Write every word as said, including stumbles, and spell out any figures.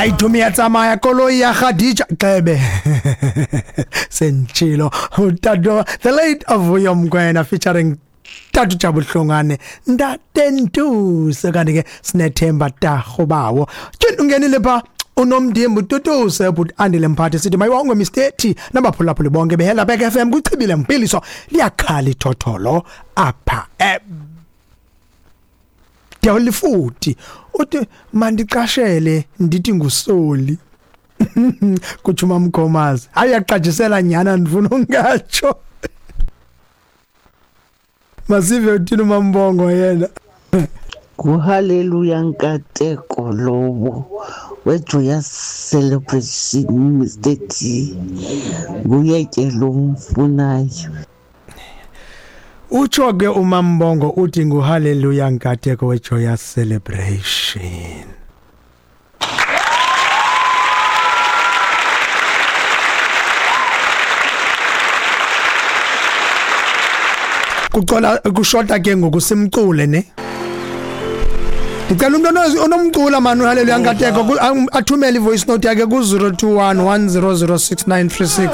Hayi thumi ya tsamaya koloi ya Khadija xebe sentshilo utata the late Vuyo Mkwena featuring Tatu Jabu Hlongwane Ntatentuse. Kanti ke sinethemba tarho bawo tyhini ungenile pha unomdimbu tutuse but andile mphathi sithi mayiwongwe Mister T nabaphulaphuli bonke behela Back F M kuchibile mpiliso liyakhala ithotholo apha eh Dewulifuthi uthi mandiqashele ndithi ngusoli kutsho uMamkhomazi. Hayi uyaqajisela nyana ndifuna ungatsho. Masive uthini uMambongo yena. Nguhaleluya Nkateko lowo weJoyous Celebration Mister T. Nguye ke lo mfunayo. Utsho ke uMambongo uthi nguhaleluya Nkateko weJoyous Celebration. Kucola kushota ke ngoku simcule ne. Ndicela umuntu onomcula mani uHaleluya Nkateko athumele ivoice note yakhe ku zero two one one zero zero six nine three six.